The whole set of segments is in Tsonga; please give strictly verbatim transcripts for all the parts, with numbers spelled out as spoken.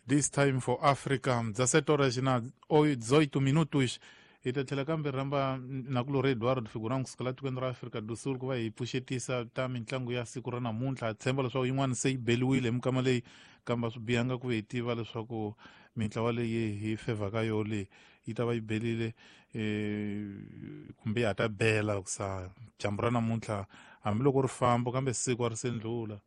This Time for Africa, dezessete horas na dezoito minutos. Hi ta tlhela kambe rhamba nakulorhi Eduardo Figurão kusuka la tikweni ra Afrika do Sul ku va hi pfuxetisa ta mitlangu ya siku ra namuntlha. Ha tshemba leswaku yin'wana se yi beliwile hi mikama leyi, kambe a swi bihanga ku hi tiva leswaku mintlawa leyi hi fevhaka yo leyi yi ta va yi belile eh, kumbe ya ha ta bela kusa dyambu ra namuntlha, hambiloko ri famba kambe siku a ri se ndlula.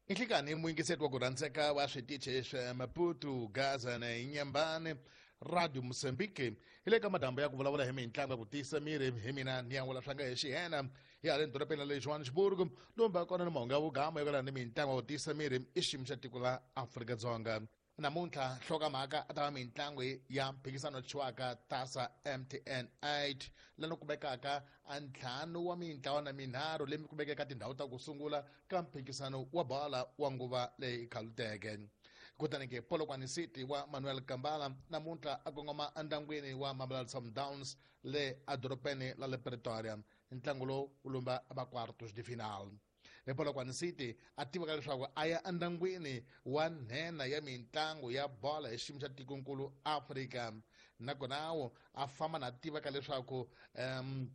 Inhlikani muyingiseti wa ku rhandzeka wa switichi swa Maputo, Gaza na Inyambane Radio Mozambique, hi le ka madambo ya ku vulavula hi mitlangu ya ku tiyisa miri. Hi mina ni yan'wula swanga hi xihena hi haleni dorobeni ra le Johannesburg, lomba kona ni mahungu ya vugama yo ni mitlangu ya ku tiyisa miri i xiyimo xa tiko la Afrika-Dzonga. Namuntlha nhlokomhaka a ta va mitlangu ya mphikizano thyiwaka Tasa M T N eight, lani kumekaka a ntlhanu wa mintlawa na minharhu leyi kumekaka tindhawu ta ku sungula ka mphikizano wa bola wa nguva leyi khaluteke. Kutani ke Polokwane City wa Manuel Kambala namuntlha a kongoma endyangwini wa Mamelodi Sundowns le edorobeni la le Pretoria. Ntlangu lowu wu lumba va quartos de final. Le Polokwane City a tiveka leswaku a ya endyangwini wa nhenha ya mitlangu ya bola hi xiyimo xa tikonkulu Afrika, nakona wo a famba na tiveka leswaku um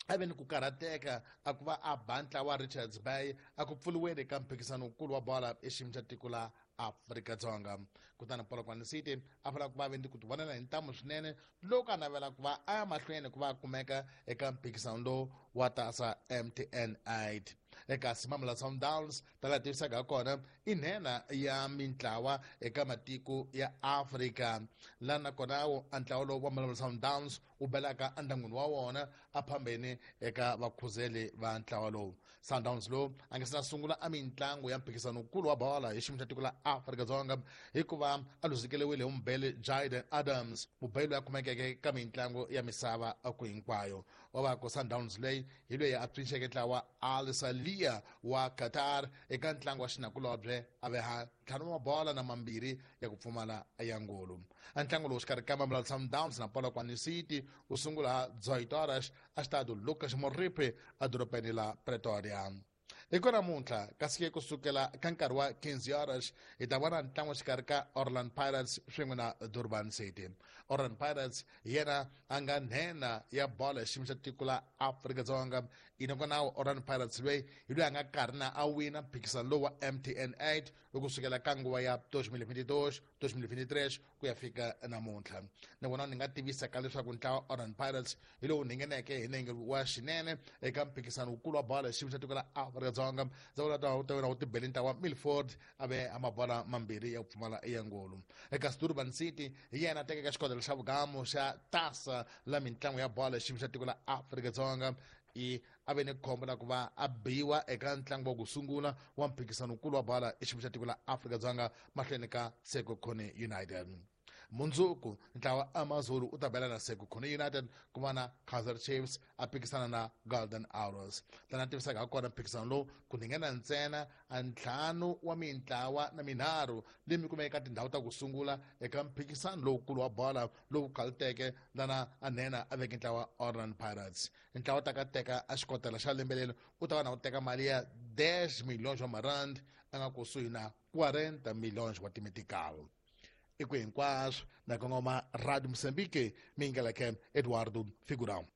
a ve ni ku karhateka a ku va a ba ntlawa wa Richards Bay a ku pfuriweni ka mphikizano wukulu wa bola hi xiyimo xa tiko la Afrika-Dzonga. Kutani Polokwane City a fanele ku va ve ni ku tivonela hi ntamu swinene loko a navela ku va a ya mahlweni ku va a kumeka eka mphikizano lowu wa Tasa M T N eight. Eka Mamelodi Sundowns ta la tivisaka ha kona i nhenha ya mintlawa eka matiko ya Afrika, laha nakona wo a ntlawa lowu wa Mamelodi Sundowns wu belaka endyangwini wa wona a phambeni eka vakhuzeli va ntlawa lowu. Sundowns lowu a nga se na sungula a mitlangu ya mphikizano wukulu wa bola hi xiyimo xa tiko la Afrika-Dzonga hikuva a luzekeriwile hi mubeli Jayden Adams, mubeli loyi a kumekeke ka mitlangu ya misava ku hinkwayo. Wa va ku Sundowns leyi hi loyi a pfinxeke ntlawa Al Salia wa Qatar eka ntlangu wa xinakulobye a veha ntlhanu wa bola na mambirhi ya ku pfumala ya ngolo. A ntlangu lowu xikarhi ka Mamelodi Sundowns na Polokwane City wu sungula dezoito horas a xitado Lucas Moripe edorobeni la Pretoria. Hi ko namuntlha kasi ke kusukela ka nkarhi wa quinze horas hi ta vona ntlangu xikarhi ka Orlando Pirates swin'we na Durban City. Orlando Pirates hi yena a nga nhenha ya bola hi xiyimo xa tiko la Afrika-Dzonga. Inakona Orlando Pirates loyi hi loyi a nga karhi na a wina mphikizano lowu wa M T N eight kusukela ka nguva ya dois mil e vinte e dois, dois mil e vinte e três ku ya fika namuntlha. Nakona ni nga tivisa ka leswaku ntlawa Orlando Pirates hi lowu ngheneke hi nenge wa xinene eka mphikizano wukulu wa bola hi xiyimo xa tiko la Afrika-Dzonga. Ndza vula ta wu ta wu tibele ntlawa Milford a ve a mabola mambirhi ya ku pfumala ya ngolo. Eka Durban City hi yena a tekeke xikodelo xa vugamu xa Tasa la mitlangu ya bola hi xiyimo xa tiko la Afrika-Dzonga. I a ve ni khombo la ku va a biwa eka ntlangu wa ku sungula wa mphikizano wukulu wa bola hi xiyimo xa tiko la Afrika-Dzonga mahlweni ka Sekhukhune United. Mundzuku ntlawa AmaZulu u ta bela na Sekhukhune United ku va na Kaizer Chiefs a phikisana na Golden Arrows. Tana tivisaka ha kona mphikizano lowu ku nghena ntsena a ntlhanu wa mintlawa na minharhu leyi mi kumeka eka tindhawu ta ku sungula eka mphikizano lowukulu wa bola lowu khaluteke lana a nhenha a veke ntlawa Orlando Pirates. Ntlawa ta ka teka a xikotela xa lembe leri u ta va na ku teka mali ya dez milhões wa marand a nga kusuhi na quarenta milhões wa timetical. I ku hinkwaswo na kongoma Radio Mozambique mi yingeleke Eduardo Figurão.